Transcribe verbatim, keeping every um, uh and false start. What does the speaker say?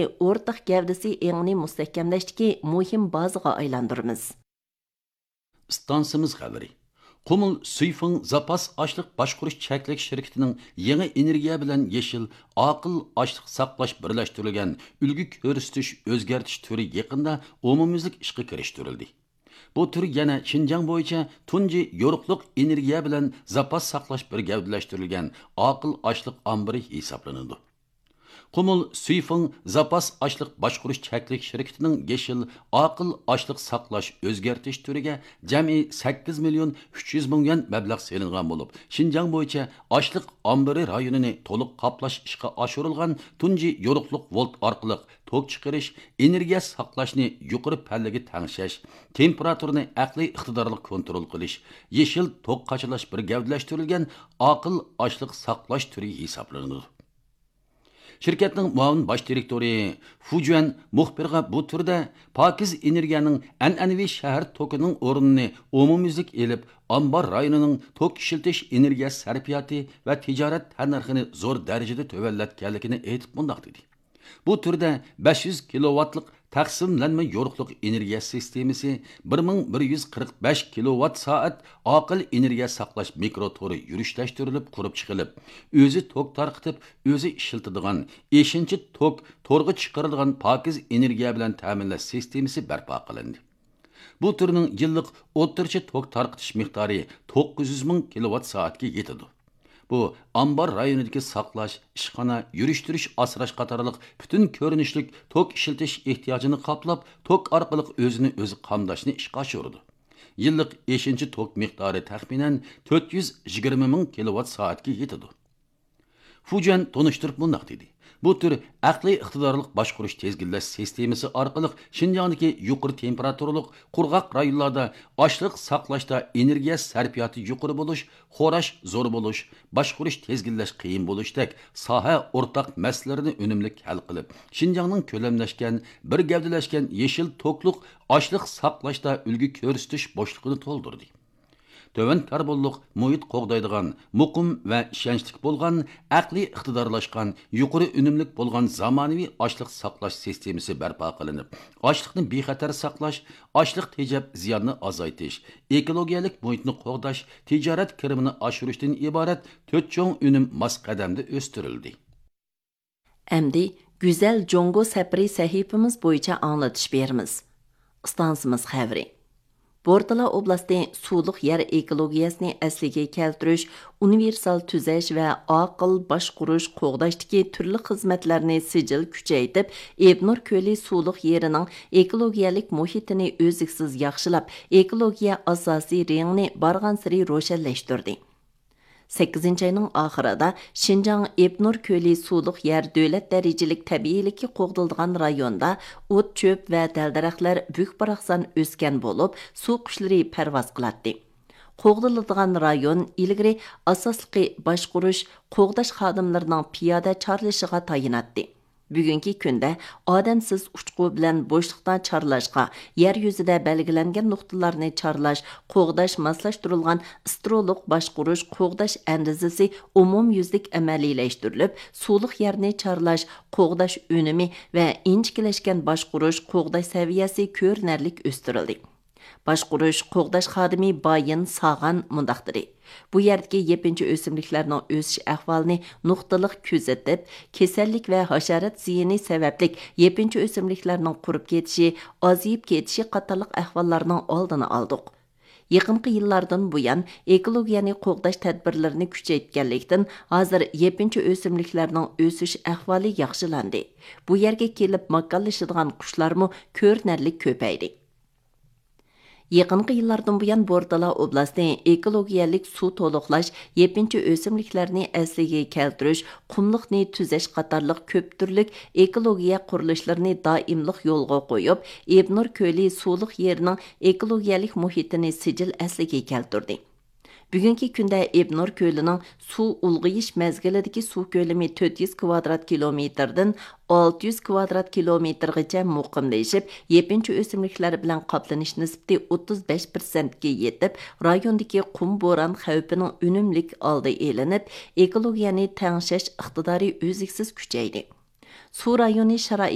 ئورتاق گەۋدىسى ئېڭىنى مۇستەھكەملەشتىكى مۇھىم بازىغا ئايلاندۇرىمىز. ئىستانسىمىز خەۋىرى. قۇمۇل سۈيفېڭ زاپاس ئاشلىق باشقۇرۇش چەكلىك شىركىتىنىڭ يېڭى ئېنېرگىيە بىلەن يېشىل، ئاقىل ئاشلىق ساقلاش بىرلەشتۈرۈلگەن ئۈلگە كۆرسىتىش ئۆزگەرتىش تۈرى يېقىندا ئومۇميۈزلۈك ئىشقا كىرىشتۈرۈلدى. بۇ تۈر يەنە شىنجاڭ بويىچە تۇنجى يورۇقلۇق ئېنېرگىيە بىلەن زاپاس ساقلاش بىر گەۋدىلەشتۈرۈلگەن ئاقىل ئاشلىق ئامبىرى ھېسابلىنىدۇ. قۇمۇل سۈيفېڭ زاپاس ئاشلىق باشقۇرۇش چەكلىك شىركىتىنىڭ يېشىل ئاقىل ئاشلىق ساقلاش ئۆزگەرتىش تۈرىگە جەمئىي سەككىز مىليون ئۈچ يۈز مىڭ يۈەن مەبلەغ سېلىنغان بولۇپ، شىنجاڭ بويىچە ئاشلىق ئامبىرى رايونىنى تولۇق قاپلاش ئىشقا ئاشۇرۇلغان تۇنجى يورۇقلۇق ۋولت ئارقىلىق توك چىقىرىش، ئېنېرگىيە ساقلاشنى يۇقىرى پەللىگە تەڭشەش، تېمپېراتۇرىنى ئەقلىي ئىقتىدارلىق كونترول قىلىش، يېشىل توك قاچىلاش بىر گەۋدىلەشتۈرۈلگەن ئاقىل ئاشلىق ساقلاش تۈرى ھېسابلىنىدۇ. شىركەتنىڭ مۇئاۋىن باش دىرېكتورى فۇ جۈەن مۇخبىرغا بۇ تۈردە پاكىز ئېنېرگىيەنىڭ ئەنئەنىۋى شەھەر توكىنىڭ ئورنىنى ئومۇميۈزلۈك ئېلىپ، ئامبار رايونىنىڭ توك ئىشلىتىش ئېنېرگىيە سەرپىياتى ۋە تىجارەت تەننەرخىنى زور دەرىجىدە تۆۋەنلەتكەنلىكىنى ئېيتىپ مۇنداق دېدى. بۇ تۈردە بەش يۈز كىلوۋاتلىق تەقسىملەنمە يورۇقلۇق ئېنېرگىيە سىستېمىسى، بىر مىڭ بىر يۈز قىرىق بەش كىلوۋات سائەت ئاقىل ئېنېرگىيە ساقلاش مىكرو تورى يۈرۈشلەشتۈرۈلۈپ قۇرۇپ چىقىلىپ، ئۆزى توك تارقىتىپ، ئۆزى ئىشلىتىدىغان ئېشىنچا توك تورغا چىقىرىدىغان پاكىز ئېنېرگىيە بىلەن تەمىنلەش سىستېمىسى بەرپا قىلىندى. بۇ تۈرنىڭ يىللىق ئوتتۇرىچە توك تارقىتىش مىقدارى توققۇز يۈز مىڭ كىلوۋات سائەتكە يېتىدۇ. بۇ ئامبار رايونىدىكى ساقلاش، ئىشخانا، يۈرۈشتۈرۈش، ئاسراش قاتارلىق پۈتۈن كۆرۈنۈشلۈك توك ئىشلىتىش ئېھتىياجىنى قاپلاپ، توك ئارقىلىق ئۆزىنى ئۆزى قامداشنى ئىشقا ئاشۇرىدۇ. يىللىق ئېشىنچا توك مىقدارى تەخمىنەن تۆت يۈز يىگىرمە مىڭ كىلوۋات سائەتكە يېتىدۇ. فۇجيەن تونۇشتۇرۇپ مۇنداق دېدى: بۇ تۈر ئەقلىي ئىقتىدارلىق باشقۇرۇش تىزگىنلەش سىستېمىسى ئارقىلىق شىنجاڭدىكى يۇقىرى تېمپېراتۇرىلىق قۇرغاق رايونلاردا ئاشلىق ساقلاشتا ئېنېرگىيە سەرپىياتى يۇقىرى بولۇش، خوراش زور بولۇش، باشقۇرۇش تىزگىنلەش قىيىن بولۇشتەك ساھە ئورتاق مەسىلىلىرىنى ئۈنۈملۈك ھەل قىلىپ، شىنجاڭنىڭ كۆلەملەشكەن، بىر گەۋدىلەشكەن يېشىل توكلۇق ئاشلىق ساقلاشتا ئۈلگە كۆرسىتىش بوشلۇقىنى تولدۇردى. تۆۋەن كاربونلۇق مۇھىت قوغدايدىغان، مۇقىم ۋە ئىشەنچلىك بولغان، ئەقلىي ئىقتىدارلاشقان، يۇقىرى ئۈنۈملۈك بولغان زامانىۋى ئاشلىق ساقلاش سىستېمىسى بەرپا قىلىنىپ، ئاشلىقنى بىخەتەر ساقلاش، ئاشلىق تېجەپ زىياننى ئازايتىش، ئېكولوگىيەلىك مۇھىتنى قوغداش، تىجارەت كىرىمىنى ئاشۇرۇشتىن ئىبارەت تۆت چوڭ ئۈنۈم ماس قەدەمدە ئۆستۈرۈلدى. ئەمدى گۈزەل جۇڭگو سەپىرى سەھىپىمىز بويىچە ئاڭلىتىش بېرىمىز. ئىستانسىمىز خەۋىرى. بورتالا ئوبلاستى سۇلۇق يەر ئېكولوگىيەسىنى ئەسلىگە كەلتۈرۈش، ئۇنىۋېرسال تۈزەش ۋە ئاقىل باشقۇرۇش، قوغداشتىكى تۈرلۈك خىزمەتلەرنى سىجىل كۈچەيتىپ، ئېبنۇر كۆلى سۇلۇق يېرىنىڭ ئېكولوگىيەلىك مۇھىتىنى ئۈزلۈكسىز ياخشىلاپ، ئېكولوگىيە ئاساسىي رېڭىنى بارغانسېرى روشەنلەشتۈردى. سەككىزىنچى ئاينىڭ ئاخىرىدا شىنجاڭ ئېبنۇر كۆلى سۇلۇق يەر دۆلەت دەرىجىلىك تەبىئىيلىكى قوغدىلىدىغان رايوندا ئوت، چۆپ ۋە دەل-دەرەخلەر بۈك-باراقسان ئۆسكەن بولۇپ، سۇ قۇشلىرى پەرۋاز قىلاتتى. قوغدىلىدىغان رايون ئىلگىرى ئاساسلىقى باشقۇرۇش، قوغداش خادىملىرىنىڭ پىيادە چارلىشىغا تايىناتتى. بۈگۈنكى كۈندە ئادەمسىز ئۇچقۇ بىلەن بوشلۇقتا چارلاشقا، يەر يۈزىدە بەلگىلەنگەن نۇقتىلارنى چارلاش، قوغداش ماسلاشتۇرۇلغان ئىسترولۇق باشقۇرۇش، قوغداش ئەندىزىسى ئومۇميۈزلۈك ئەمەلىيلەشتۈرۈلۈپ، سۇلۇق يەرنى چارلاش، قوغداش ئۈنۈمى ۋە ئىنچىكىلەشكەن باشقۇرۇش، قوغداش سەۋىيەسى كۆرۈنەرلىك ئۆستۈرۈلدى. باشقۇرۇش، قوغداش خادىمى بايىن ساغان مۇنداق دېدى: بۇ يەردىكى يېپىنچا ئۆسۈملۈكلەرنىڭ ئۆسۈش ئەھۋالىنى نۇقتىلىق كۆزىتىپ، كېسەللىك ۋە ھاشارات زىيىنى سەۋەبلىك يېپىنچا ئۆسۈملۈكلەرنىڭ قۇرۇپ كېتىشى، ئازىيىپ كېتىشى قاتارلىق ئەھۋاللارنىڭ ئالدىنى ئالدۇق. يېقىنقى يىللاردىن بۇيان، ئېكولوگىيەنى قوغداش تەدبىرلىرىنى كۈچەيتكەنلىكتىن، ھازىر يېپىنچا ئۆسۈملۈكلەرنىڭ ئۆسۈش ئەھۋالى ياخشىلاندى. بۇ يەرگە كېلىپ ماكانلىشىدىغان قۇشلارمۇ كۆرۈنەرلىك كۆپەيدى. يېقىنقى يىللاردىن بۇيان، بورتالا ئوبلاستى ئېكولوگىيەلىك سۇ تولۇقلاش، يېپىنچا ئۆسۈملۈكلەرنى ئەسلىگە كەلتۈرۈش، قۇملۇقنى تۈزەش قاتارلىق كۆپ تۈرلۈك ئېكولوگىيە قۇرۇلۇشلىرىنى دائىملىق يولغا قويۇپ، ئېبنۇر كۆلى سۇلۇق يېرىنىڭ ئېكولوگىيەلىك مۇھىتىنى سىجىل ئەسلىگە كەلتۈردى. بۈگۈنكى كۈندە ئېبنۇر كۆلىنىڭ سۇ ئۇلغىيىش مەزگىلىدىكى سۇ كۆلىمى تۆت يۈز كۋادرات كىلومېتىردىن ئالتە يۈز كۋادرات كىلومېتىرغىچە مۇقىملىشىپ، يېپىنچا ئۆسۈملۈكلەر بىلەن قاپلىنىش نىسبىتى ئوتتۇز بەش پىرسەنتكە يېتىپ، رايوندىكى قۇم بوران خەۋپىنىڭ ئۈنۈملۈك ئالدى ئېلىنىپ، ئېكولوگىيەنى تەڭشەش ئىقتىدارى ئۈزلۈكسىز كۈچەيدى. سۇ رايونى شارائىتى